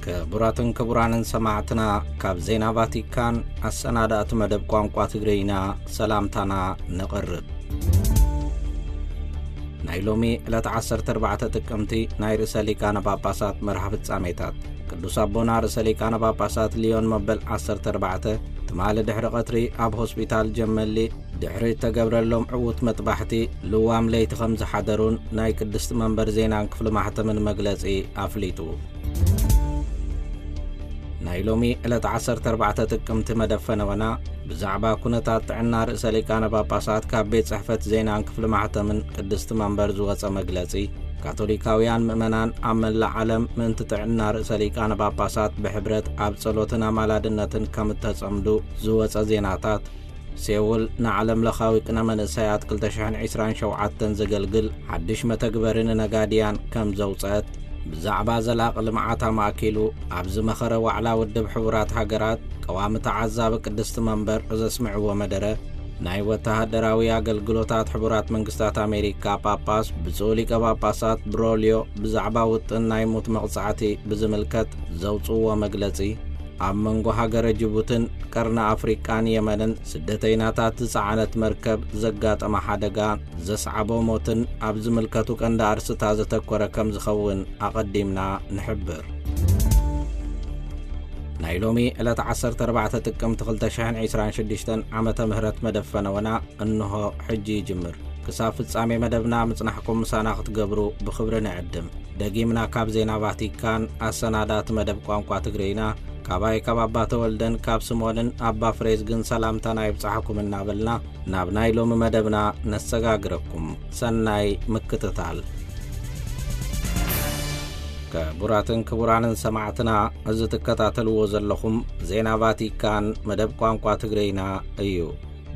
ክቡራትን ክቡራንን ሰማዕትና፣ ካብ ዜና ቫቲካን ኣሰናዳእቲ መደብ ቋንቋ ትግርኛ ሰላምታና ነቕርብ። ናይ ሎሚ ዕለት ዓሰርተ ኣርባዕተ ጥቅምቲ ናይ ርእሰ ሊቃነ ጳጳሳት መርሃ ፍጻሜታት። ቅዱስ ኣቦና ርእሰ ሊቃነ ጳጳሳት ሊዮን መበል ዓሰርተ ኣርባዕተ ትማሊ ድሕሪ ቀትሪ ኣብ ሆስፒታል ጀመሊ ድሕሪ እተገብረሎም ዕዉት መጥባሕቲ ልዋም ለይቲ ከም ዝሓደሩን ናይ ቅድስቲ መንበር ዜናን ክፍሊ ማሕተምን መግለጺ ኣፍሊጡ። ናይ ሎሚ ዕለት ዓሰርተ ኣርባዕተ ጥቅምቲ መደብ ፈነወና ብዛዕባ ኩነታት ጥዕና ርእሰ ሊቃነ ጳጳሳት ካብ ቤት ጽሕፈት ዜናን ክፍሊ ማሕተምን ቅድስቲ መንበር ዝወጸ መግለጺ፣ ካቶሊካውያን ምእመናን ኣብ መላእ ዓለም ምእንቲ ጥዕና ርእሰ ሊቃነ ጳጳሳት ብሕብረት ኣብ ጸሎትን ኣማላድነትን ከም እተጸምዱ ዝወጸ ዜናታት፣ ሴውል ንዓለም ለኻዊ ቅነ መንእሰያት ክልተ ሽሕን ዕስራን ሸውዓተን ዘገልግል ሓድሽ መተግበሪ ንነጋድያን ከም ዘውጸአት፣ ብዛዕባ ዘላቒ ልምዓት ኣማእኪሉ ኣብ ዝመኸረ ዋዕላ ውድብ ሕቡራት ሃገራት ቀዋሚ ተዓዛቢ ቅድስቲ መንበር ዘስምዕዎ መደረ፣ ናይ ወተሃደራዊ ኣገልግሎታት ሕቡራት መንግስታት ኣሜሪካ ጳጳስ ብፁዕ ሊቀ ጳጳሳት ብሮልዮ ብዛዕባ ውጥን ናይ ሙት መቕጻዕቲ ብዝምልከት ዘውጽእዎ መግለጺ፣ ኣብ መንጎ ሃገረ ጅቡትን ቀርኒ ኣፍሪቃን የመንን ስደተይናታት ዝጸዓነት መርከብ ዘጋጠመ ሓደጋ ዘስዓቦ ሞትን ኣብ ዝምልከቱ ቀንዲ ኣርስታ ዘተኮረ ከም ዝኸውን ኣቐዲምና ንሕብር። ናይ ሎሚ ዕለት ዓሰርተ ኣርባዕተ ጥቅምቲ ክልተ ሽሕን ዕስራን ሽዱሽተን ዓመተ ምህረት መደብ ፈነወና እንሆ ሕጂ ይጅምር። ክሳብ ፍጻሜ መደብና ምጽናሕኩም ምሳና ክትገብሩ ብኽብሪ ንዕድም። ደጊምና ካብ ዜና ቫቲካን ኣሰናዳእቲ መደብ ቋንቋ ትግርይና፣ ካባይ ካብ ኣባ ተወልደን ካብ ስምኦንን ኣባ ፍሬዝግን ሰላምታና ይብጻሕኩም እናበልና ናብ ናይ ሎሚ መደብና ነሰጋግረኩም። ሰናይ ምክትታል። ክቡራትን ክቡራንን ሰማዕትና፣ እዚ ትከታተልዎ ዘለኹም ዜና ቫቲካን መደብ ቋንቋ ትግርይና እዩ።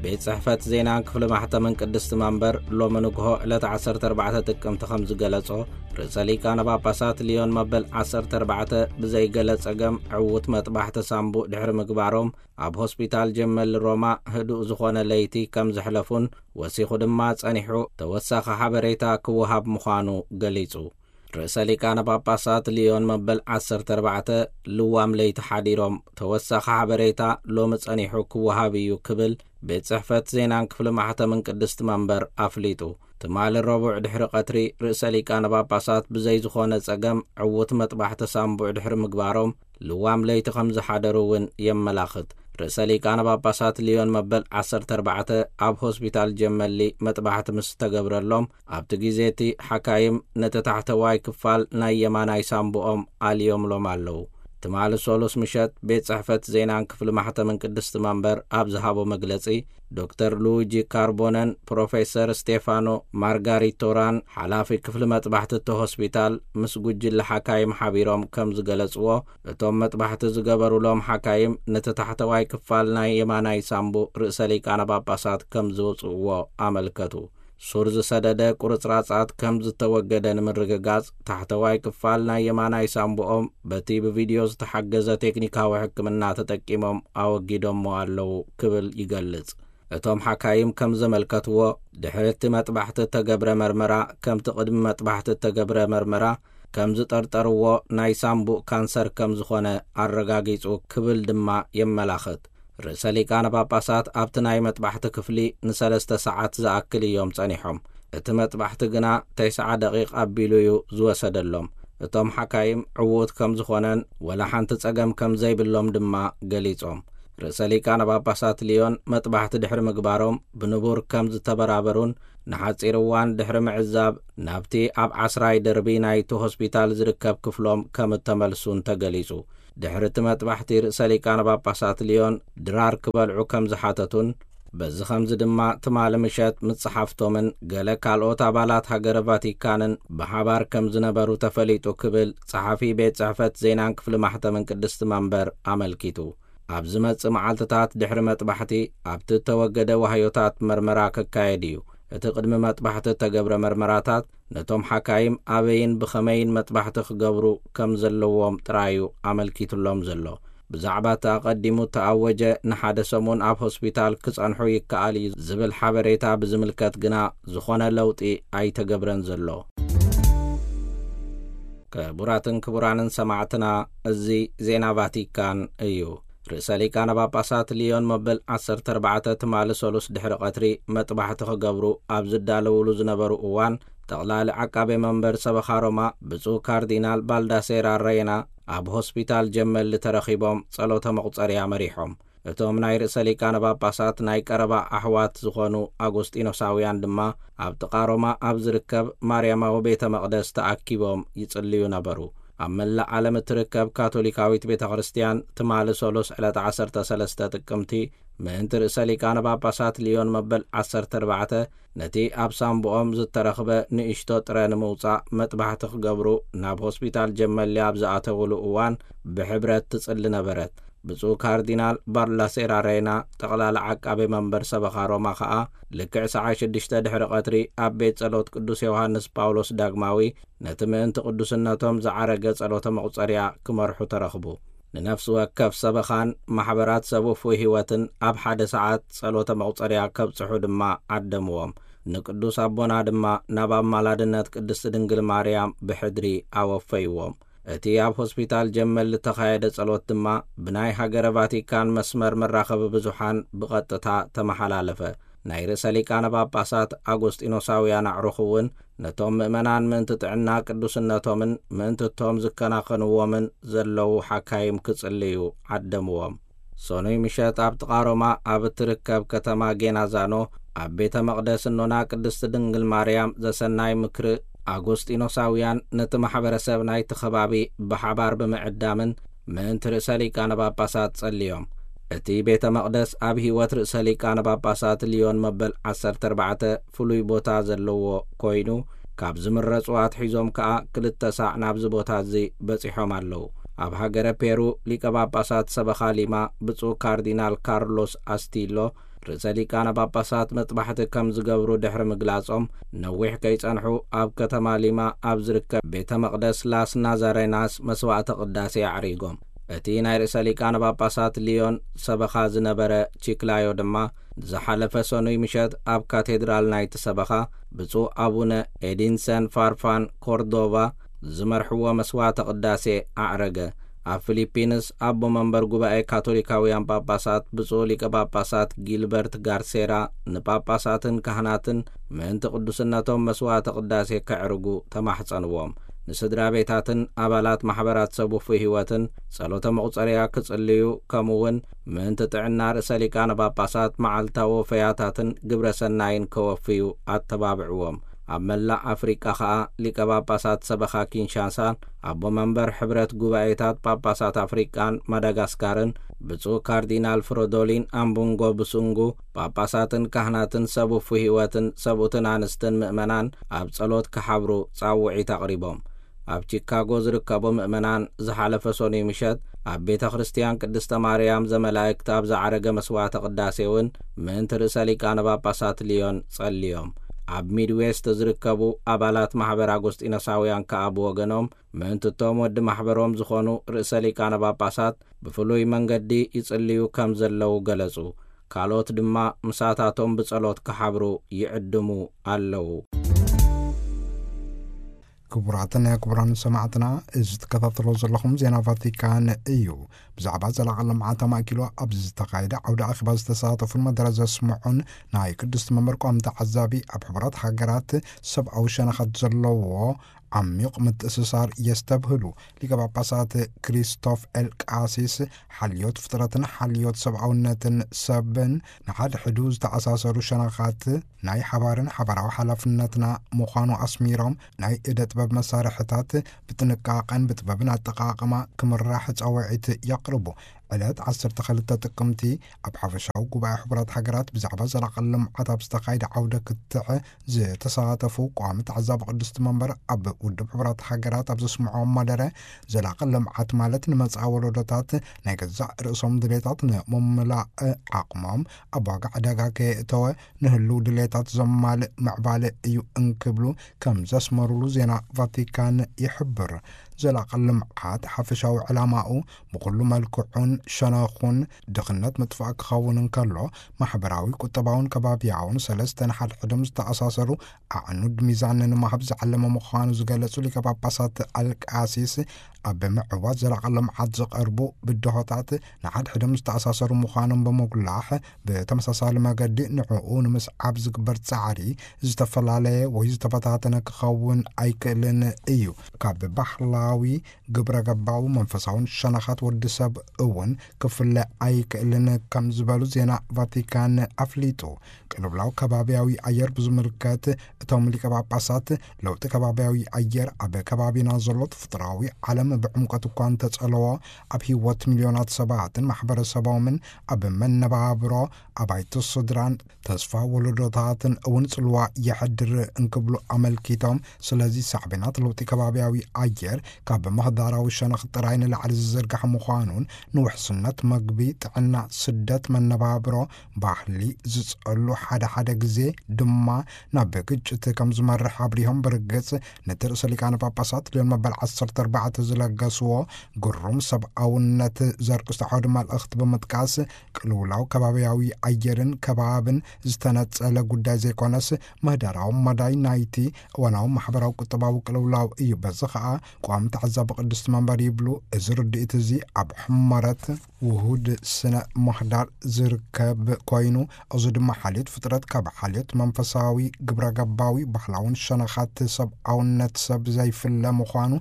ቤት ጽሕፈት ዜናን ክፍሊ ማሕተምን ቅድስቲ መንበር ሎሚ ንግሆ ዕለት ዓሰርተ ኣርባዕተ ጥቅምቲ ከም ዝገለጾ፣ ርእሰ ሊቃነ ጳጳሳት ሊዮን መበል ዓሰርተ ኣርባዕተ ብዘይገለ ጸገም ዕዉት መጥባሕቲ ሳምቡእ ድሕሪ ምግባሮም ኣብ ሆስፒታል ጀመል ሮማ ህዱእ ዝኾነ ለይቲ ከም ዘሕለፉን ወሲኹ ድማ ጸኒሑ ተወሳኺ ሓበሬታ ክወሃብ ምዃኑ ገሊጹ። ርእሰ ሊቃነ ጳጳሳት ሊዮን መበል ዓሰርተ ኣርባዕተ ልዋም ለይቲ ሓዲሮም ተወሳኺ ሓበሬታ ሎሚ ጸኒሑ ክወሃብ እዩ ክብል ቤት ጽሕፈት ዜናን ክፍሊ ማሕተምን ቅድስቲ መንበር ኣፍሊጡ። ትማሊ ረቡዕ ድሕሪ ቀትሪ ርእሰ ሊቃነ ጳጳሳት ብዘይ ዝኾነ ጸገም ዕዉት መጥባሕቲ ሳምቡዕ ድሕሪ ምግባሮም ልዋም ለይቲ ከም ዝሓደሩ እውን የመላኽት። ርእሰ ሊቃነ ጳጳሳት ሊዮን መበል ዓሰርተ ኣርባዕተ ኣብ ሆስፒታል ጀመሊ መጥባሕቲ ምስ ተገብረሎም ኣብቲ ግዜ እቲ ሓካይም ነቲ ታሕተዋይ ክፋል ናይ የማናይ ሳምቡኦም ኣልዮምሎም ኣለዉ። ትማሊ ሶሉስ ምሸት ቤት ጽሕፈት ዜናን ክፍሊ ማሕተምን ቅድስቲ መንበር ኣብ ዝሃቦ መግለጺ፣ ዶክተር ሉዊጂ ካርቦነን ፕሮፌሰር ስቴፋኖ ማርጋሪቶራን ሓላፊ ክፍሊ መጥባሕቲ እቲ ሆስፒታል ምስ ጉጅለ ሓካይም ሓቢሮም ከም ዝገለጽዎ፣ እቶም መጥባሕቲ ዝገበሩሎም ሓካይም ነቲ ታሕተዋይ ክፋል ናይ የማናይ ሳምቡእ ርእሰ ሊቃነ ጳጳሳት ከም ዝውጽእዎ ኣመልከቱ። ሱር ዝሰደደ ቁርጽራጻት ከም ዝተወገደ ንምርግጋጽ፣ ታሕተዋይ ክፋል ናይ የማናይ ሳምቡኦም በቲ ብቪድዮ ዝተሓገዘ ቴክኒካዊ ሕክምና ተጠቂሞም ኣወጊዶሞ ኣለዉ ክብል ይገልጽ። እቶም ሓካይም ከም ዘመልከትዎ፣ ድሕሪ እቲ መጥባሕቲ እተገብረ መርመራ፣ ከምቲ ቅድሚ መጥባሕቲ እተገብረ መርመራ፣ ከም ዝጠርጠርዎ ናይ ሳምቡእ ካንሰር ከም ዝኾነ ኣረጋጊጹ ክብል ድማ የመላኽት። ርእሰ ሊቃነ ጳጳሳት ኣብቲ ናይ መጥባሕቲ ክፍሊ ንሰለስተ ሰዓት ዝኣክል እዮም ጸኒሖም። እቲ መጥባሕቲ ግና ተስዓ ደቂቕ ኣቢሉ እዩ ዝወሰደሎም። እቶም ሓካይም ዕዉት ከም ዝኾነን ወላ ሓንቲ ጸገም ከም ዘይብሎም ድማ ገሊጾም። ርእሰ ሊቃነ ጳጳሳት ሊዮን መጥባሕቲ ድሕሪ ምግባሮም ብንቡር ከም ዝተበራበሩን ንሓጺር እዋን ድሕሪ ምዕዛብ ናብቲ ኣብ ዓስራይ ደርቢ ናይቲ ሆስፒታል ዝርከብ ክፍሎም ከም እተመልሱን ተገሊጹ። ድሕሪ እቲ መጥባሕቲ ርእሰ ሊቃነ ጳጳሳት ሊዮን ድራር ክበልዑ ከም ዝሓተቱን በዚ ኸምዚ ድማ ትማሊ ምሸት ምስ ጸሓፍቶምን ገለ ካልኦት ኣባላት ሃገረ ቫቲካንን ብሓባር ከም ዝነበሩ ተፈሊጡ ክብል ጸሓፊ ቤት ጽሕፈት ዜናን ክፍሊ ማሕተምን ቅድስቲ መንበር ኣመልኪቱ። ኣብ ዝመጽእ መዓልትታት ድሕሪ መጥባሕቲ ኣብቲ እተወገደ ዋህዮታት መርመራ ክካየድ እዩ። እቲ ቅድሚ መጥባሕቲ እተገብረ መርመራታት ነቶም ሓካይም ኣበይን ብኸመይን መጥባሕቲ ክገብሩ ከም ዘለዎም ጥራይ እዩ ኣመልኪቱሎም ዘሎ። ብዛዕባ እቲ ኣቐዲሙ እተኣወጀ ንሓደ ሰሙን ኣብ ሆስፒታል ክጸንሑ ይከኣል እዩ ዝብል ሓበሬታ ብዝምልከት ግና ዝኾነ ለውጢ ኣይተገብረን ዘሎ። ክቡራትን ክቡራንን ሰማዕትና፣ እዚ ዜና ቫቲካን እዩ። ርእሰ ሊቃነ ጳጳሳት ሊዮን መበል ዓሰርተ ኣርባዕተ ትማሊ ሰሉስ ድሕሪ ቀትሪ መጥባሕቲ ክገብሩ ኣብ ዝዳለውሉ ዝነበሩ እዋን፣ ጠቕላሊ ዓቃቤ መንበር ሰበኻ ሮማ ብፁዕ ካርዲናል ባልዳሴራ ሬና ኣብ ሆስፒታል ጀመሊ ተረኺቦም ጸሎተ መቑጸርያ መሪሖም። እቶም ናይ ርእሰ ሊቃነ ጳጳሳት ናይ ቀረባ ኣሕዋት ዝኾኑ ኣጎስጢኖሳውያን ድማ ኣብ ጥቓ ሮማ ኣብ ዝርከብ ማርያማዊ ቤተ መቕደስ ተኣኪቦም ይጽልዩ ነበሩ። ኣብ መላእ ዓለም እትርከብ ካቶሊካዊት ቤተ ክርስቲያን ትማሊ ሰሉስ ዕለት ዓሰርተ ሰለስተ ጥቅምቲ ምእንቲ ርእሰ ሊቃነ ጳጳሳት ሊዮን መበል ዓሰርተ ኣርባዕተ ነቲ ኣብ ሳምብኦም ዝተረኽበ ንእሽቶ ጥረ ንምውጻእ መጥባሕቲ ክገብሩ ናብ ሆስፒታል ጀመሊ ኣብ ዝኣተውሉ እዋን ብሕብረት ትጽሊ ነበረት። ብፁዕ ካርዲናል ባርላሴራ ሬና፣ ጠቕላሊ ዓቃቤ መንበር ሰበኻ ሮማ ኸኣ፣ ልክዕ ሰዓት ሽዱሽተ ድሕሪ ቀትሪ ኣብ ቤት ጸሎት ቅዱስ ዮሃንስ ጳውሎስ ዳግማዊ ነቲ ምእንቲ ቅዱስነቶም ዝዓረገ ጸሎተ መቑጸርያ ክመርሑ ተረኽቡ። ንነፍሲ ወከፍ ሰበኻን ማሕበራት ሰብ ውፉይ ህይወትን ኣብ ሓደ ሰዓት ጸሎተ መቑጸርያ ከብጽሑ ድማ ዓደምዎም። ንቅዱስ ኣቦና ድማ ናብ ኣማላድነት ቅድስቲ ድንግል ማርያም ብሕድሪ ኣወፈይዎም። እቲ ኣብ ሆስፒታል ጀመል ዝተኻየደ ጸሎት ድማ ብናይ ሃገረ ቫቲካን መስመር መራኸቢ ብዙሓን ብቐጥታ ተመሓላለፈ። ናይ ርእሰ ሊቃነ ጳጳሳት ኣጎስጢኖሳውያን ኣዕሩኽ እውን ነቶም ምእመናን ምእንቲ ጥዕና ቅዱስነቶምን ምእንቲ እቶም ዝከናኸንዎምን ዘለዉ ሓካይም ክጽልዩ ዓደምዎም። ሰኑይ ምሸት ኣብ ጥቓ ሮማ ኣብ እትርከብ ከተማ ጌናዛኖ ኣብ ቤተ መቕደስ እኖና ቅድስቲ ድንግል ማርያም ዘሰናይ ምክሪ ኣጎስጢኖሳውያን ነቲ ማሕበረሰብ ናይቲ ከባቢ ብሓባር ብምዕዳምን ምእንቲ ርእሰ ሊቃነ ጳጳሳት ጸልዮም። እቲ ቤተ መቕደስ ኣብ ህይወት ርእሰ ሊቃነ ጳጳሳት ሊዮን መበል ዓሰርተ ኣርባዕተ ፍሉይ ቦታ ዘለዎ ኮይኑ፣ ካብ ዝምረጹ ኣትሒዞም ከኣ ክልተ ሳዕ ናብዚ ቦታ እዚ በጺሖም ኣለዉ። ኣብ ሃገረ ፔሩ ሊቀ ጳጳሳት ሰበኻ ሊማ ብፁዕ ካርዲናል ካርሎስ ኣስቲሎ ርእሰ ሊቃነ ጳጳሳት መጥባሕቲ ከም ዝገብሩ ድሕሪ ምግላጾም፣ ነዊሕ ከይጸንሑ ኣብ ከተማ ሊማ ኣብ ዝርከብ ቤተ መቕደስ ላስ ናዛሬናስ መስዋዕተ ቅዳሴ ኣዕሪጎም። እቲ ናይ ርእሰ ሊቃነ ጳጳሳት ሊዮን ሰበኻ ዝነበረ ቺክላዮ ድማ ዝሓለፈ ሰኑይ ምሸት ኣብ ካቴድራል ናይቲ ሰበኻ ብፁዕ ኣቡነ ኤዲንሰን ፋርፋን ኮርዶቫ ዝመርሕዎ መስዋዕተ ቅዳሴ ኣዕረገ። ኣብ ፊሊፒንስ ኣቦ መንበር ጉባኤ ካቶሊካውያን ጳጳሳት ብፁዕ ሊቀ ጳጳሳት ጊልበርት ጋርሴራ ንጳጳሳትን ካህናትን ምእንቲ ቅዱስነቶም መስዋዕተ ቅዳሴ ከዕርጉ ተማሕጸንዎም። ንስድራ ቤታትን ኣባላት ማሕበራት ሰብ ውፉይ ህይወትን ጸሎተ መቑጸርያ ክጽልዩ፣ ከምኡ እውን ምእንቲ ጥዕና ርእሰ ሊቃነ ጳጳሳት መዓልታዊ ወፈያታትን ግብረ ሰናይን ከወፍዩ ኣተባብዕዎም። ኣብ መላእ ኣፍሪቃ ኸኣ ሊቀ ጳጳሳት ሰበኻ ኪንሻሳን ኣቦ መንበር ሕብረት ጉባኤታት ጳጳሳት ኣፍሪቃን ማዳጋስካርን ብፁዕ ካርዲናል ፍሮዶሊን ኣምቡንጎ ብሱንጉ ጳጳሳትን ካህናትን ሰብ ውፉይ ህይወትን ሰብኡትን ኣንስትን ምእመናን ኣብ ጸሎት ክሓብሩ ጻውዒት ኣቕሪቦም። ኣብ ቺካጎ ዝርከቡ ምእመናን ዝሓለፈ ሰኑይ ምሸት ኣብ ቤተ ክርስቲያን ቅድስተ ማርያም ዘመላእክት ኣብ ዝዓረገ መስዋዕተ ቅዳሴ እውን ምእንቲ ርእሰ ሊቃነ ጳጳሳት ሊዮን ጸልዮም። ኣብ ሚድዌስት ዝርከቡ ኣባላት ማሕበር ኣጎስጢኖሳውያን ከኣ ብወገኖም ምእንቲ እቶም ወዲ ማሕበሮም ዝኾኑ ርእሰ ሊቃነ ጳጳሳት ብፍሉይ መንገዲ ይጽልዩ ከም ዘለዉ ገለጹ። ካልኦት ድማ ምሳታቶም ብጸሎት ክሓብሩ ይዕድሙ ኣለዉ። ክቡራትን ክቡራን ሰማዕትና፣ እዚ ትከታተሎ ዘለኹም ዜና ቫቲካን እዩ። ብዛዕባ ዘላቒ ልምዓት ኣማእኪሉ ኣብ ዝተኻየደ ዓውደ ኣኼባ ዝተሳተፉን መደረ ዘስምዑን ናይ ቅድስቲ መንበር ቋሚ ተዓዛቢ፣ ኣብ ሕቡራት ሃገራት ሰብኣዊ ሸነኻት ዘለዎ ዓሚቕ ምትእስሳር የስተብህሉ። ሊቀ ጳጳሳት ክሪስቶፍ ኤል ቃሲስ፣ ሓልዮት ፍጥረትን ሓልዮት ሰብኣውነትን ሰብን ንሓድሕዱ ዝተኣሳሰሩ ሸነኻት ናይ ሓባርን ሓባራዊ ሓላፍነትና ምዃኑ ኣስሚሮም፣ ናይ እደ ጥበብ መሳርሕታት ብጥንቃቐን ብጥበብን ኣጠቓቕማ ክምራሕ ጻውዒት የቕርቡ። ዕለት ዓሰርተ ክልተ ጥቅምቲ ኣብ ሓፈሻዊ ጉባኤ ሕቡራት ሃገራት ብዛዕባ ዘላቒ ልምዓት ኣብ ዝተኻየደ ዓውደ ክትዕ ዝተሳተፉ ቋሚ ተዓዛቢ ቅድስቲ መንበር ኣብ ውድብ ሕቡራት ሃገራት ኣብ ዘስምዖም መደረ፣ ዘላቒ ልምዓት ማለት ንመጻኢ ወለዶታት ናይ ገዛእ ርእሶም ድሌታት ንምምላእ ዓቕሞም ኣብ ዋጋ ዕዳጋ ከየእተወ ንህልው ድሌታት ዘማልእ ምዕባለ እዩ እንክብሉ ከም ዘስመሩሉ ዜና ቫቲካን ይሕብር። ዘላቒ ልምዓት ሓፈሻዊ ዕላማኡ ብኹሉ መልክዑን ሸነኹን ድኽነት ምጥፋእ ክኸውን እንከሎ፣ ማሕበራዊ፣ ቁጠባውን ከባብያውን ሰለስተን ሓድሕዶም ዝተኣሳሰሩ ኣዕኑድ ሚዛን ንምሃብ ዝዓለመ ምዃኑ ዝገለጹ ሊቀ ጳጳሳት ኣልቃሲስ፣ ኣብ ምዕዋት ዘላቒ ልምዓት ዝቐርቡ ብድሆታት ንሓድሕዶም ዝተኣሳሰሩ ምዃኖም ብምጉላሕ፣ ብተመሳሳሊ መገዲ ንዕኡ ንምስዓብ ዝግበር ጻዕሪ ዝተፈላለየ ወይ ዝተበታተነ ክኸውን ኣይክእልን እዩ። ካብ ባህላዊ፣ ግብረ ገባዊ፣ መንፈሳውን ሸነኻት ወዲ ሰብ እውን ክፍለ ኣይክእልን ከም ዝበሉ ዜና ቫቲካን ኣፍሊጡ። ቅልውላው ከባብያዊ ኣየር ብዝምልከት እቶም ሊቀ ጳጳሳት፣ ለውጢ ከባብያዊ ኣየር ኣብ ከባቢና ዘሎ ተፈጥሮኣዊ ዓለም ብዕምቆት እኳ እንተጸለዎ፣ ኣብ ህይወት ሚልዮናት ሰባትን ማሕበረሰቦምን ኣብ መነባብሮ ኣባይቲ ስድራን ተስፋ ወለዶታትን እውን ጽልዋ የሕድር እንክብሉ ኣመልኪቶም፣ ስለዚ ሳዕቤናት ለውጢ ከባብያዊ ኣየር ካብ ምህዳራዊ ሸነኽ ጥራይ ንላዕሊ ዝዝርጋሕ ምዃኑን፣ ንውሕስነት መግቢ፣ ጥዕና፣ ስደት፣ መነባብሮ፣ ባህሊ ዝጸሉ፣ ሓደ ሓደ ግዜ ድማ ናብ ግጭት ከም ዝመርሕ ኣብሪሆም፣ ብርግጽ ነቲ ርእሰ ሊቃነ ጳጳሳት ልዮን መበል ዓሰርተ ኣርባዕተ ዝለገስዎ ግሩም ሰብኣውነት ዘርእስቱ ዓውዲ መልእኽቲ ብምጥቃስ፣ ቅልውላው ከባብያዊ ኣየርን ከባብን ዝተነጸለ ጉዳይ ዘይኮነስ፣ ምህዳራዊ መዳይ ናይቲ እዋናዊ ማሕበራዊ ቁጠባዊ ቅልውላው እዩ። በዚ ኸኣ ቋሚ ተዓዛቢ ቅድስቲ መንበር ይብሉ፣ እዚ ርድኢት እዚ ኣብ ሕመረት ውሁድ ስነ ምህዳር ዝርከብ ኮይኑ፣ እዚ ድማ ሓልዮት ፍጥረት ካብ ሓልዮት መንፈሳዊ፣ ግብረ ገባዊ፣ ባህላውን ሸነኻት ሰብኣውነት ሰብ ዘይፍለ ምዃኑ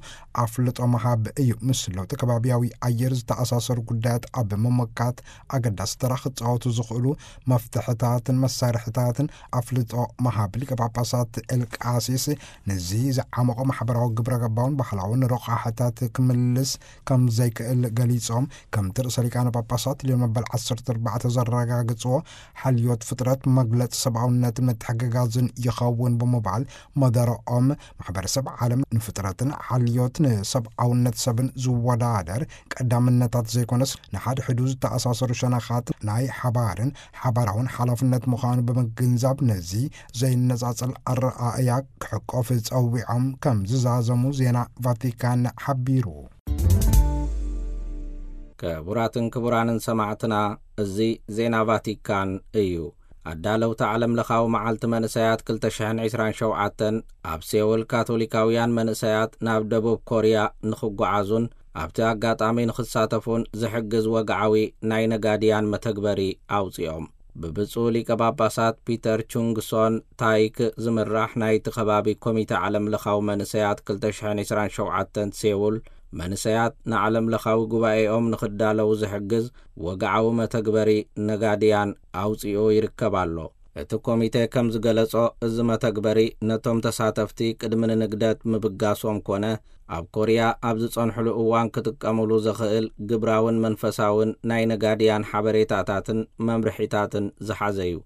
ኣፍልጦ ምሃብ እዩ። ምስ ለውጢ ከባብያዊ ኣየር ዝተኣሳሰሩ ጉዳያት ኣብ ምምካት ኣገዳሲ ተራ ክጻወቱ ዝኽእሉ መፍትሕታትን መሳርሕታትን ኣፍልጦ ምሃብ። ሊቀ ጳጳሳት ኤልቃሲስ፣ ነዚ ዝዓመቖ ማሕበራዊ፣ ግብረ ገባውን ባህላውን ረቋሕታት ክምልስ ከም ዘይክእል ገሊጾም፣ ከምቲ ርእሰ ሊቃነ ጳጳሳት ልዮን መበል ዓሰርተ ኣርባዕተ ዘረጋግጽዎ፣ ሓልዮት ፍጥረት መግለጺ ሰብኣውነትን ምትሕግጋዝን ይኸውን ብምባል፣ መደረኦም፣ ማሕበረሰብ ዓለም ንፍጥረትን ሓልዮት ንሰብኣውነት ሰብን ዝወዳደር ቀዳምነታት ዘይኮነስ፣ ንሓድሕዱ ዝተኣሳሰሩ ሸነኻት ናይ ሓባርን ሓባራውን ሓላፍነት ምዃኑ ብምግንዛብ፣ ነዚ ዘይነጻጸል ኣረኣእያ ክሕቆፍ ጸዊዖም ከም ዝዛዘሙ ዜና ቫቲካን ሓቢሩ። ክቡራትን ክቡራንን ሰማዕትና፣ እዚ ዜና ቫቲካን እዩ። ኣዳለውቲ ዓለም ለኻዊ መዓልቲ መንእሰያት ክልተ ሽሕን ዕስራን ሸውዓተን ኣብ ሴውል፣ ካቶሊካውያን መንእሰያት ናብ ደቡብ ኮርያ ንኽጓዓዙን ኣብቲ ኣጋጣሚ ንኽሳተፉን ዝሕግዝ ወግዓዊ ናይ ነጋድያን መተግበሪ ኣውጺኦም። ብብፁዕ ሊቀ ጳጳሳት ፒተር ቹንግሶን ታይክ ዝምራሕ ናይቲ ከባቢ ኮሚተ ዓለም ለኻዊ መንእሰያት ክልተ ሽሕን ዕስራን ሸውዓተን ሴውል፣ መንእሰያት ንዓለም ለኻዊ ጉባኤኦም ንኽዳለዉ ዝሕግዝ ወግዓዊ መተግበሪ ነጋድያን ኣውጺኡ ይርከብ ኣሎ። እቲ ኮሚተ ከም ዝገለጾ፣ እዚ መተግበሪ ነቶም ተሳተፍቲ ቅድሚ ንንግደት ምብጋሶም ኮነ ኣብ ኮርያ ኣብ ዝጸንሕሉ እዋን ክጥቀሙሉ ዘኽእል ግብራውን መንፈሳውን ናይ ነጋድያን ሓበሬታታትን መምርሒታትን ዝሓዘ እዩ።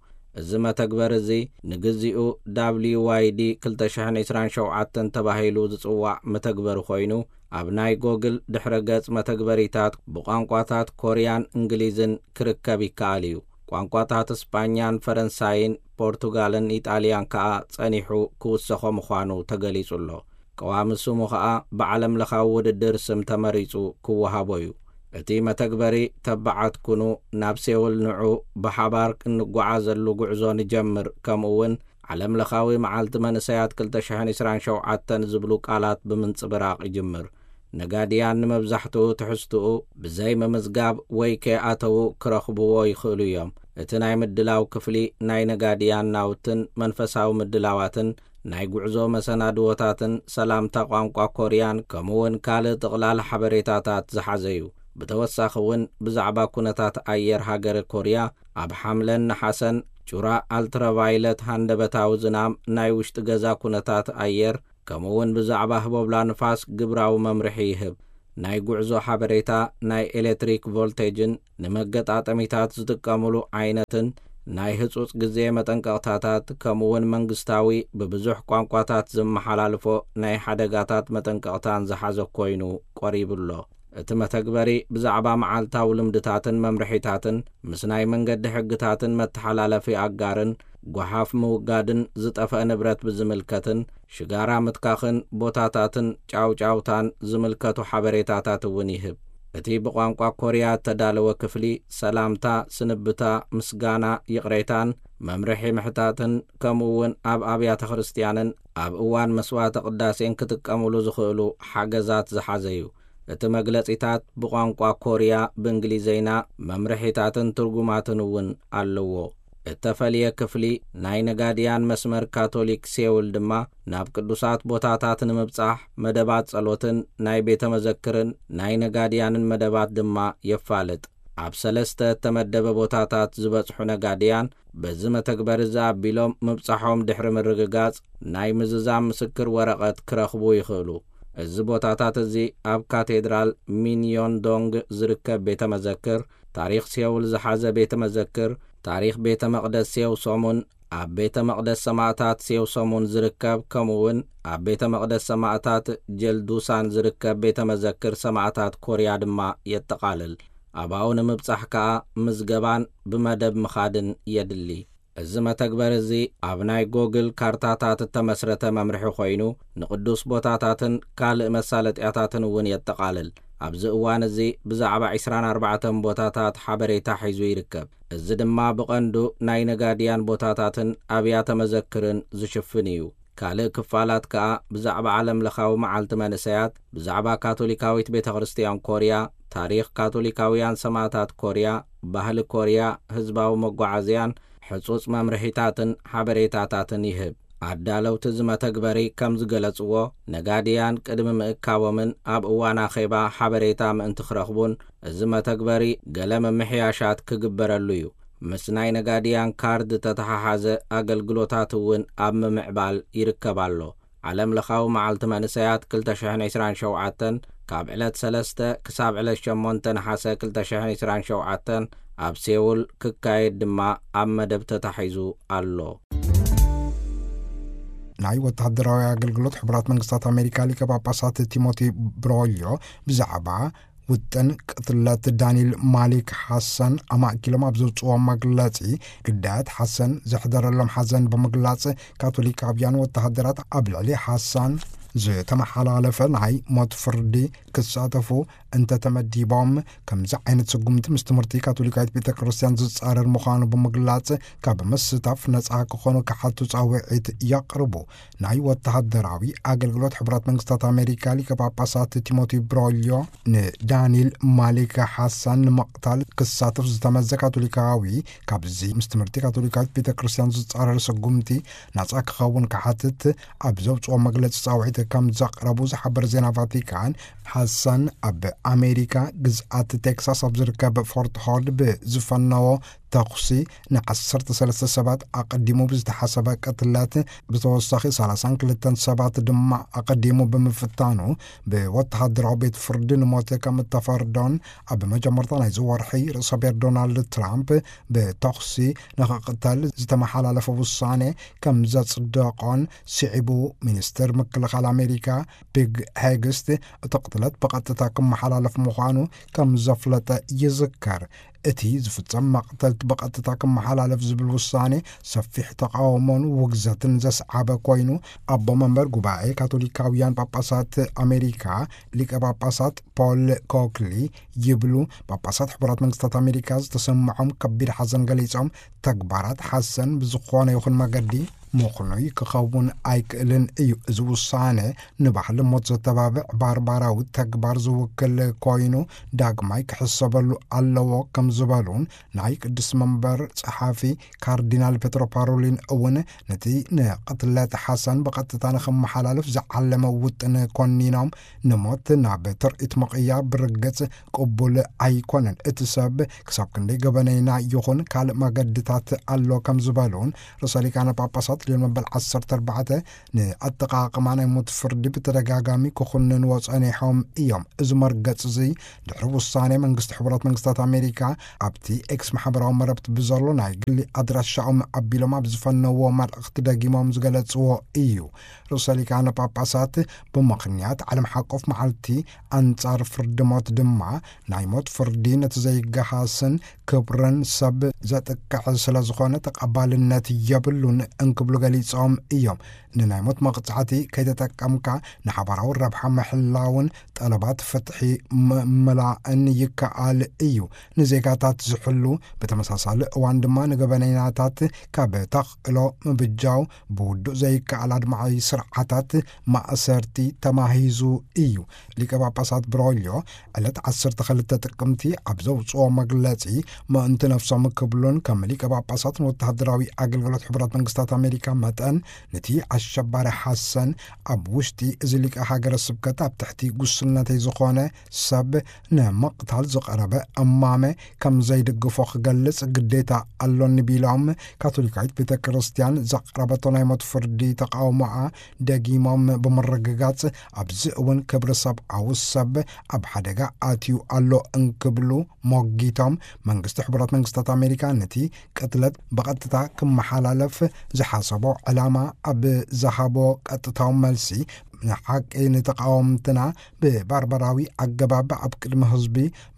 እዚ መተግበሪ እዚ ንግዚኡ ዳብልዩ ዋይ ዲ ክልተ ሽሕን ዕስራን ሸውዓተን ተባሂሉ ዝጽዋዕ መተግበሪ ኮይኑ፣ ኣብ ናይ ጎግል ድሕረ ገጽ መተግበሪታት ብቋንቋታት ኮርያን እንግሊዝን ክርከብ ይከኣል እዩ። ቋንቋታት ስጳኛን ፈረንሳይን ፖርቱጋልን ኢጣልያን ከኣ ጸኒሑ ክውሰኾ ምዃኑ ተገሊጹ ኣሎ። ቀዋሚ ስሙ ኸኣ ብዓለም ለኻዊ ውድድር ስም ተመሪጹ ክወሃቦ እዩ። እቲ መተግበሪ ተባዓት ኩኑ፣ ናብ ሴውል ንዑ፣ ብሓባር እንጓዓዘሉ ጉዕዞ ንጀምር፣ ከምኡ እውን ዓለም ለኻዊ መዓልቲ መንእሰያት ክልተ ሽሕን ዕስራን ሸውዓተን ዝብሉ ቃላት ብምንጽብራቕ ይጅምር። ነጋድያን ንመብዛሕትኡ ትሕዝትኡ ብዘይ ምምዝጋብ ወይ ከይኣተዉ ክረኽብዎ ይኽእሉ እዮም። እቲ ናይ ምድላው ክፍሊ ናይ ነጋድያን ናውትን መንፈሳዊ ምድላዋትን ናይ ጉዕዞ መሰናድዎታትን ሰላምታ ቋንቋ ኮርያን ከምኡውን ካልእ ጥቕላል ሓበሬታታት ዝሓዘ እዩ። ብተወሳኺ እውን ብዛዕባ ኩነታት ኣየር ሃገረ ኮርያ፣ ኣብ ሓምለን ነሓሰን ጩራ ኣልትራቫይለት፣ ሃንደበታዊ ዝናም፣ ናይ ውሽጢ ገዛ ኩነታት ኣየር፣ ከምኡውን ብዛዕባ ህቦብላ ንፋስ ግብራዊ መምርሒ ይህብ። ናይ ጉዕዞ ሓበሬታ፣ ናይ ኤሌክትሪክ ቮልቴጅን ንመገጣጠሚታት ዝጥቀሙሉ ዓይነትን ናይ ህጹጽ ግዜ መጠንቀቕታታት፣ ከምኡውን መንግስታዊ ብብዙሕ ቋንቋታት ዝመሓላልፎ ናይ ሓደጋታት መጠንቀቕታን ዝሓዘ ኮይኑ ቀሪቡ ኣሎ። እቲ መተግበሪ ብዛዕባ መዓልታዊ ልምድታትን መምርሒታትን፣ ምስ ናይ መንገዲ ሕግታትን መተሓላለፊ ኣጋርን፣ ጓሓፍ ምውጋድን ዝጠፍአ ንብረት ብዝምልከትን ሽጋራ ምትካኽን ቦታታትን ጫውጫውታን ዝምልከቱ ሓበሬታታት እውን ይህብ። እቲ ብቋንቋ ኮርያ እተዳለወ ክፍሊ፣ ሰላምታ፣ ስንብታ፣ ምስጋና፣ ይቕሬታን መምርሒ ምሕታትን፣ ከምኡ እውን ኣብ ኣብያተ ክርስትያንን ኣብ እዋን መስዋዕተ ቅዳሴን ክጥቀሙሉ ዝኽእሉ ሓገዛት ዝሓዘ እዩ። እቲ መግለጺታት ብቋንቋ ኮርያ፣ ብእንግሊዘይና፣ መምርሒታትን ትርጉማትን እውን ኣለዎ። እተፈልየ ክፍሊ ናይ ነጋድያን መስመር ካቶሊክ ሴውል ድማ፣ ናብ ቅዱሳት ቦታታት ንምብጻሕ መደባት ጸሎትን ናይ ቤተ መዘክርን ናይ ነጋድያንን መደባት ድማ የፋልጥ። ኣብ ሰለስተ እተመደበ ቦታታት ዝበጽሑ ነጋድያን፣ በዚ መተግበሪ እዚ ኣቢሎም ምብጻሖም ድሕሪ ምርግጋጽ፣ ናይ ምዝዛም ምስክር ወረቐት ክረኽቡ ይኽእሉ። እዚ ቦታታት እዚ ኣብ ካቴድራል ሚንዮንዶንግ ዝርከብ ቤተ መዘክር፣ ታሪኽ ሴውል ዝሓዘ ቤተ መዘክር፣ ታሪኽ ቤተ መቕደስ ሴው ሶሙን፣ ኣብ ቤተ መቕደስ ሰማእታት ሴው ሶሙን ዝርከብ፣ ከምኡ እውን ኣብ ቤተ መቕደስ ሰማእታት ጀልዱሳን ዝርከብ ቤተ መዘክር ሰማእታት ኮርያ ድማ የጠቓልል። ኣብኡ ንምብጻሕ ከኣ ምዝገባን ብመደብ ምኻድን የድሊ። እዚ መተግበሪ እዚ ኣብ ናይ ጎግል ካርታታት እተመስረተ መምርሒ ኮይኑ፣ ንቅዱስ ቦታታትን ካልእ መሳለጥያታትን እውን የጠቓልል። ኣብዚ እዋን እዚ ብዛዕባ ዕስራን ኣርባዕተን ቦታታት ሓበሬታ ሒዙ ይርከብ። እዚ ድማ ብቐንዱ ናይ ነጋድያን ቦታታትን ኣብያተ መዘክርን ዝሽፍን እዩ። ካልእ ክፋላት ከኣ ብዛዕባ ዓለም ለኻዊ መዓልቲ መንእሰያት፣ ብዛዕባ ካቶሊካዊት ቤተ ክርስትያን ኮርያ፣ ታሪኽ ካቶሊካውያን ሰማእታት ኮርያ፣ ባህሊ ኮርያ፣ ህዝባዊ መጓዓዝያን ሕጹጽ መምርሒታትን ሓበሬታታትን ይህብ። ኣዳለውቲ እዚ መተግበሪ ከም ዝገለጽዎ፣ ነጋድያን ቅድሚ ምእካቦምን ኣብ እዋን ኣኼባ ሓበሬታ ምእንቲ ክረኽቡን፣ እዚ መተግበሪ ገለ ምምሕያሻት ክግበረሉ እዩ። ምስ ናይ ነጋድያን ካርድ ተተሓሓዘ ኣገልግሎታት እውን ኣብ ምምዕባል ይርከብ ኣሎ። ዓለም ለኻዊ መዓልቲ መንእሰያት ክልተ ሽሕን ዕስራን ሸውዓተን፣ ካብ ዕለት ሰለስተ ክሳብ ዕለት ሸሞንተ ነሓሰ ክልተ ሽሕን ዕስራን ሸውዓተን ኣብ ሴውል ክካየድ ድማ ኣብ መደብ ተታሒዙ ኣሎ። ናይ ወተሃደራዊ ኣገልግሎት ሕቡራት መንግስታት ኣሜሪካ ሊቀ ጳጳሳት ቲሞቲ ብሮልዮ ብዛዕባ ውጥን ቅትለት ዳንኤል ማሊክ ሓሰን ኣማእኪሎም ኣብ ዘውፅዎ መግለፂ፣ ግዳያት ሓሰን ዘሕደረሎም ሓዘን ብምግላፅ፣ ካቶሊካውያን ወተሃደራት ኣብ ልዕሊ ሓሳን ዝተመሓላለፈ ናይ ሞት ፍርዲ ክሳተፉ እንተተመዲቦም፣ ከምዚ ዓይነት ስጉምቲ ምስ ትምህርቲ ካቶሊካዊት ቤተ ክርስቲያን ዝጻረር ምዃኑ ብምግላጽ፣ ካብ ምስታፍ ነጻ ክኾኑ ክሓቱ ጻውዒት የቕርቡ። ናይ ወተሃደራዊ ኣገልግሎት ሕቡራት መንግስታት ኣሜሪካ ሊቀ ጳጳሳት ቲሞቲ ብሮልዮ፣ ንዳንኤል ማሊክ ሓሳን ንምቕታል ክሳተፍ ዝተመዘ ካቶሊካዊ፣ ካብዚ ምስ ትምህርቲ ካቶሊካዊት ቤተ ክርስቲያን ዝጻረር ስጉምቲ ናጻ ክኸውን ክሓትት ኣብ ዘውጽኦ መግለጺ ጻውዒት ከም ዘቕረቡ ዝሓበረ ዜና ቫቲካን፣ ሓሳን ኣብ ኣሜሪካ ግዝኣት ቴክሳስ ኣብ ዝርከብ ፎርት ሆርድ ብዝፈነዎ ተኹሲ ንዓሰርተ ሰለስተ ሰባት ኣቐዲሙ ብዝተሓሰበ ቅትለት፣ ብተወሳኺ ሰላሳን ክልተን ሰባት ድማ ኣቐዲሙ ብምፍታኑ፣ ብወተሃደራዊ ቤት ፍርዲ ንሞት ከም እተፈርዶን፣ ኣብ መጀመርታ ናይዚ ወርሒ ርእሰ ብሔር ዶናልድ ትራምፕ ብተኹሲ ንኽቕተል ዝተመሓላለፈ ውሳኔ ከም ዘጽደቖን ስዒቡ፣ ሚኒስትር ምክልኻል ኣሜሪካ ፒግ ሄግስት እቲ ቅትለት ብቐጥታ ክመሓላለፍ ምዃኑ ከም ዘፍለጠ ይዝከር። እቲ ዝፍጸም መቕተልቲ ብቐጥታ ክመሓላለፍ ዝብል ውሳኔ ሰፊሕ ተቓውሞን ውግዘትን ዘስዓበ ኮይኑ፣ ኣቦ መንበር ጉባኤ ካቶሊካውያን ጳጳሳት ኣሜሪካ ሊቀ ጳጳሳት ፖል ኮክሊ ይብሉ፣ ጳጳሳት ሕቡራት መንግስታት ኣሜሪካ ዝተሰምዖም ከቢድ ሓዘን ገሊጾም፣ ተግባራት ሓሰን ብዝኾነ ይኹን መገዲ ምኽኑይ ክኸውን ኣይክእልን እዩ። እዚ ውሳነ ንባህሊ ሞት ዘተባብዕ ባርባራዊ ተግባር ዝውክል ኮይኑ፣ ዳግማይ ክሕሰበሉ ኣለዎ ከም ዝበሉን፣ ናይ ቅዱስ መንበር ጸሓፊ ካርዲናል ፔትሮ ፓሮሊን እውን ነቲ ንቅትለት ሓሰን ብቐጥታ ንኽመሓላለፍ ዝዓለመ ውጥን ኮኒኖም፣ ንሞት ናብ ትርኢት ምቕያር ብርግጽ ቅቡል ኣይኮነን። እቲ ሰብ ክሳብ ክንደይ ገበነይና ይኹን ካልእ መገድታት ኣሎ ከም ዝበሉን፣ ርእሰ ሊቃነ ጳጳሳት ሊዮን መበል ዓሰርተ ኣርባዕተ ንኣጠቓቕማ ናይ ሞት ፍርዲ ብተደጋጋሚ ክኹንንዎ ጸኒሖም እዮም። እዚ መርገጽ እዚ ድሕሪ ውሳኔ መንግስቲ ሕቡራት መንግስታት ኣሜሪካ ኣብቲ ኤክስ ማሕበራዊ መረብቲ ብዘሎ ናይ ግሊ ኣድራሻኦም ኣቢሎም ኣብ ዝፈነዎ መልእኽቲ ደጊሞም ዝገለጽዎ እዩ። ርእሰ ሊቃነ ጳጳሳት ብምኽንያት ዓለም ሓቆፍ መዓልቲ ኣንጻር ፍርዲ ሞት ድማ ናይ ሞት ፍርዲ ነቲ ዘይገሃስን ክብርን ሰብ ዘጥቅዕ ስለ ዝኾነ ተቐባልነት የብሉን እንክብሉ ገሊጾም እዮም። ንናይ ሞት መቕጻዕቲ ከይተጠቀምካ ንሓባራዊ ረብሓ ምሕላውን ጠለባት ፍትሒ ምምላእን ይከኣል እዩ። ንዜጋታት ዝሕሉ፣ ብተመሳሳሊ እዋን ድማ ንገበነኛታት ካብ ተኽእሎ ምብጃው ብውዱእ ዘይከኣል ኣድማዒ ስርዓታት ማእሰርቲ ተማሂዙ እዩ። ሊቀ ጳጳሳት ብሮልዮ ዕለት ዓሰርተ ክልተ ጥቅምቲ ኣብ ዘውፅኦ መግለፂ፣ ምእንቲ ነፍሶም ክብሉን ከም ሊቀ ጳጳሳት ንወተሃደራዊ ኣገልግሎት ሕቡራት መንግስታት ኣሜሪካ መጠን፣ ነቲ ኣሸባሪ ሓሰን ኣብ ውሽጢ እዚ ሊቀ ሃገረ ስብከት ኣብ ትሕቲ ጉስነተይ ዝኾነ ሰብ ንምቕታል ዝቐረበ እማመ ከም ዘይድግፎ ክገልጽ ግዴታ ኣሎኒ ቢሎም፣ ካቶሊካዊት ቤተ ክርስቲያን ዘቕረበቶ ናይ ሞት ፍርዲ ተቃውሞኣ ደጊሞም ብምርግጋጽ፣ ኣብዚ እውን ክብሪ ሰብኣዊ ሰብ ኣብ ሓደጋ ኣትዩ ኣሎ እንክብሉ ሞጊቶም፣ መንግስቲ ሕቡራት መንግስታት ኣሜሪካ ነቲ ቅትለት ብቐጥታ ክመሓላለፍ ዝሓሰቦ ዕላማ ኣብ ዝሃቦ ቀጥታዊ መልሲ፣ ንሓቂ ንተቃወምትና ብባርባራዊ ኣገባብ ኣብ ቅድሚ ህዝቢ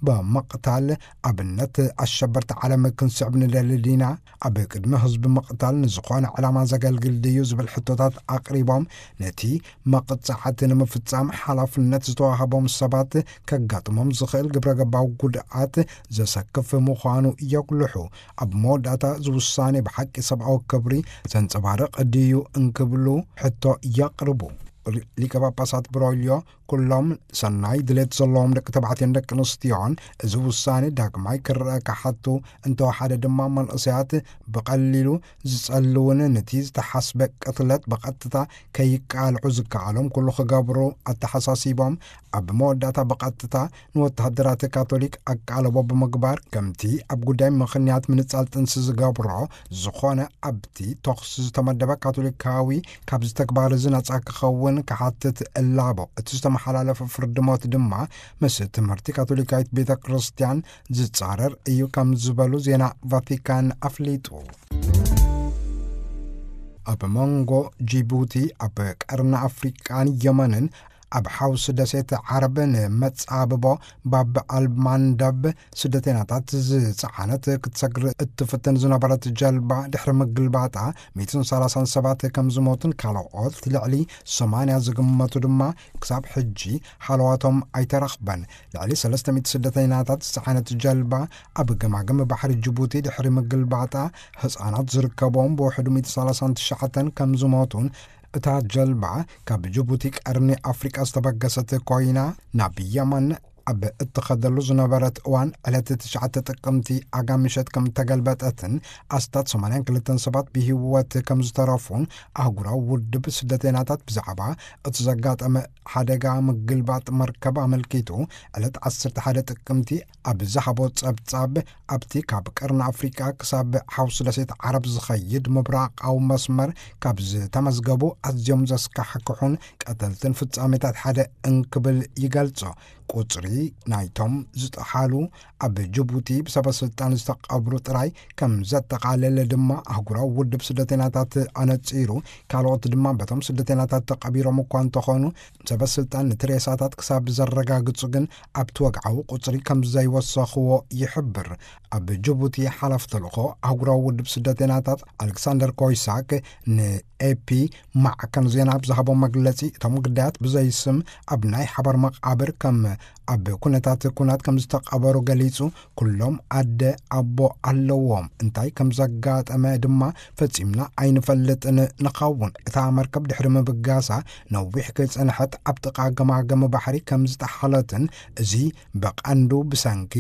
ብምቕታል፣ ኣብነት ኣሸበርቲ ዓለም ክንስዕብ ንደሊ ዲና? ኣብ ቅድሚ ህዝቢ ምቕታል ንዝኾነ ዕላማ ዘገልግል ድዩ ዝብል ሕቶታት ኣቕሪቦም፣ ነቲ መቕጻዕቲ ንምፍጻም ሓላፍነት ዝተዋህቦም ሰባት ከጋጥሞም ዝኽእል ግብረ ገባዊ ጉድኣት ዘሰክፍ ምዃኑ የጉልሑ። ኣብ መወዳእታ፣ ዝውሳኔ ብሓቂ ሰብኣዊ ክብሪ ዘንጸባርቕ ድዩ እንክብሉ ሕቶ የቕርቡ። ሊቀ ጳጳሳት ብሮልዮ፣ ኩሎም ሰናይ ድሌት ዘለዎም ደቂ ተባዕትዮን ደቂ ኣንስትዮን እዚ ውሳኔ ዳግማይ ክረአ ክሓቱ፣ እንተወሓደ ድማ መንእሰያት ብቐሊሉ ዝጸልውን ነቲ ዝተሓስበ ቅትለት ብቐጥታ ከይቃልዑ ዝከኣሎም ኩሉ ክገብሩ ኣተሓሳሲቦም፣ ኣብ መወዳእታ ብቐጥታ ንወተሃደራት ካቶሊክ ኣቃልቦ ብምግባር፣ ከምቲ ኣብ ጉዳይ ምኽንያት ምንጻል ጥንሲ ዝገብሮ ዝኾነ ኣብቲ ተኹሲ ዝተመደበ ካቶሊካዊ ካብዚ ተግባር እዚ ነጻ ክኸውን ክሓትት እላቦ። እቲ ዝተመሓላለፈ ፍርዲ ሞት ድማ ምስ ትምህርቲ ካቶሊካዊት ቤተ ክርስቲያን ዝጻረር እዩ ከም ዝበሉ ዜና ቫቲካን ኣፍሊጡ። ኣብ መንጎ ጂቡቲ፣ ኣብ ቀርኒ ኣፍሪቃን የመንን ኣብ ሓውሲ ደሴት ዓረብ ንመጻብቦ ባብ ኣልማንደብ ስደተኛታት ዝጸዓነት ክትሰግር እትፍትን ዝነበረት ጀልባ ድሕሪ ምግልባጣ፣ ሚእትን ሰላሳን ሰባት ከም ዝሞቱን ካልኦት ልዕሊ ሰማንያ ዝግመቱ ድማ ክሳብ ሕጂ ሃለዋቶም ኣይተረኽበን። ልዕሊ ሰለስተ ሚእቲ ስደተኛታት ዝጸዓነት ጀልባ ኣብ ገማግም ባሕሪ ጅቡቲ ድሕሪ ምግልባጣ፣ ህጻናት ዝርከቦም ብውሕዱ ሚእቲ ሰላሳን ትሽዓተን ከም ዝሞቱን፣ እታ ጀልባ ካብ ጅቡቲ ቀርኒ ኣፍሪቃ ዝተበገሰት ኮይና፣ ናብ የመን ኣብ እትኸደሉ ዝነበረት እዋን፣ ዕለት ትሽዓተ ጥቅምቲ ኣጋ ምሸት ከም እተገልበጠትን ኣስታት ሰማንያን ክልተን ሰባት ብህይወት ከም ዝተረፉን ኣህጉራዊ ውድብ ስደተኛታት ብዛዕባ እቲ ዘጋጠመ ሓደጋ ምግልባጥ መርከብ ኣመልኪቱ፣ ዕለት ዓሰርተ ሓደ ጥቅምቲ ኣብ ዝሃቦ ጸብጻብ፣ ኣብቲ ካብ ቀርኒ ኣፍሪቃ ክሳብ ሓውሲ ደሴት ዓረብ ዝኸይድ ምብራቓዊ መስመር ካብ ዝተመዝገቡ ኣዝዮም ዘስካሕክሑን ቀተልትን ፍጻሜታት ሓደ እንክብል ይገልጾ። ቁጽሪ ናይቶም ዝጠሓሉ፣ ኣብ ጅቡቲ ብሰበ ስልጣን ዝተቐብሩ ጥራይ ከም ዘጠቓለለ ድማ ኣህጉራዊ ውድብ ስደተኛታት ኣነጺሩ። ካልኦት ድማ በቶም ስደተኛታት ተቐቢሮም እኳ እንተኾኑ፣ ሰበ ስልጣን ነቲ ሬሳታት ክሳብ ዘረጋግጹ ግን ኣብቲ ወግዓዊ ቁጽሪ ከም ዘይወሰኽዎ ይሕብር። ኣብ ጅቡቲ ሓላፊ ተልእኾ ኣህጉራዊ ውድብ ስደተኛታት ኣሌክሳንደር ኮይሳክ ንኤፒ ማዕከን ዜና ኣብ ዝሃቦ መግለጺ፣ እቶም ግዳያት ብዘይ ስም ኣብ ናይ ሓባር መቓብር ከም ኣብ ኩነታት ኩናት ከም ዝተቐበሩ ገሊጹ፣ ኩሎም ኣደ ኣቦ ኣለዎም። እንታይ ከም ዘጋጠመ ድማ ፈጺምና ኣይንፈልጥን ንኸውን። እታ መርከብ ድሕሪ ምብጋሳ ነዊሕ ከይጸንሐት ኣብ ጥቓ ገማግም ባሕሪ ከም ዝጠሓለትን፣ እዚ ብቐንዱ ብሰንኪ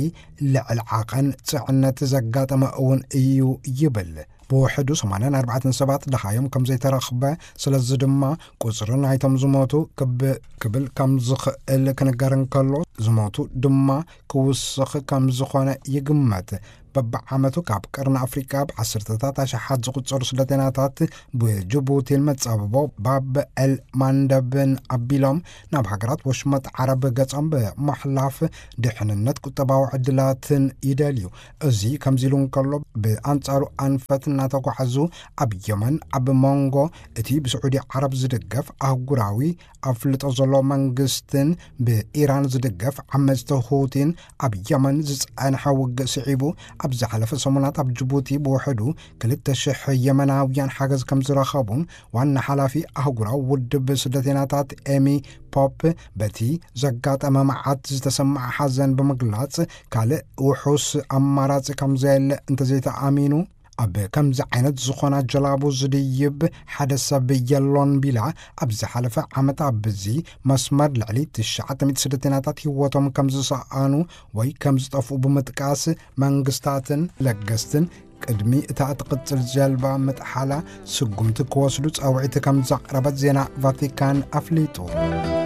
ልዕሊ ዓቐን ጽዕነት ዘጋጠመ እውን እዩ ይብል። ብውሕዱ ሰማንያን ኣርባዕተን ሰባት ደሃዮም ከም ዘይተረኽበ፣ ስለዚ ድማ ቁጽሪ ናይቶም ዝሞቱ ክብ-፣ ክብል ከም ዝኽእል ክንገር እንከሎ፣ ዝሞቱ ድማ ክውስኽ ከም ዝኾነ ይግመት። በብዓመቱ ካብ ቀርኒ ኣፍሪቃ ብዓሰርተታት ኣሽሓት ዝቑጸሩ ስደተኛታት ብጅቡቲን መጻብቦ ባብ ኤል ማንደብን ኣቢሎም ናብ ሃገራት ወሽመጥ ዓረብ ገጾም ብምሕላፍ ድሕንነት ቁጠባዊ ዕድላትን ይደልዩ። እዚ ከምዚ ኢሉ እንከሎ፣ ብኣንጻሩ ኣንፈት እናተጓዓዙ ኣብ የመን ኣብ መንጎ እቲ ብስዑዲ ዓረብ ዝድገፍ ኣህጉራዊ ኣፍልጦ ዘሎ መንግስትን ብኢራን ዝድገፍ ዓመጽቲ ሁቲን ኣብ የመን ዝጸንሐ ውግእ ስዒቡ፣ ኣብ ዝሓለፈ ሰሙናት ኣብ ጅቡቲ ብውሕዱ ክልተ ሽሕ የመናውያን ሓገዝ ከም ዝረኸቡን ዋና ሓላፊ ኣህጉራዊ ውድብ ስደተኛታት ኤሚ ፖፕ በቲ ዘጋጠመ መዓት ዝተሰማዐ ሓዘን ብምግላጽ፣ ካልእ ውሑስ ኣማራጺ ከም ዘየለ እንተዘይተኣሚኑ፣ ኣብ ከምዚ ዓይነት ዝኾና ጀላቡ ዝድይብ ሓደ ሰብ የሎን ቢላ፣ ኣብ ዝሓለፈ ዓመት ኣብዚ መስመር ልዕሊ ትሽዓተ ሚእቲ ስደተኛታት ህይወቶም ከም ዝሰኣኑ ወይ ከም ዝጠፍኡ ብምጥቃስ፣ መንግስታትን ለገስትን ቅድሚ እታ እትቕጽል ጀልባ ምጥሓላ ስጉምቲ ክወስዱ ጻውዒት ከም ዘቕረበት ዜና ቫቲካን ኣፍሊጡ።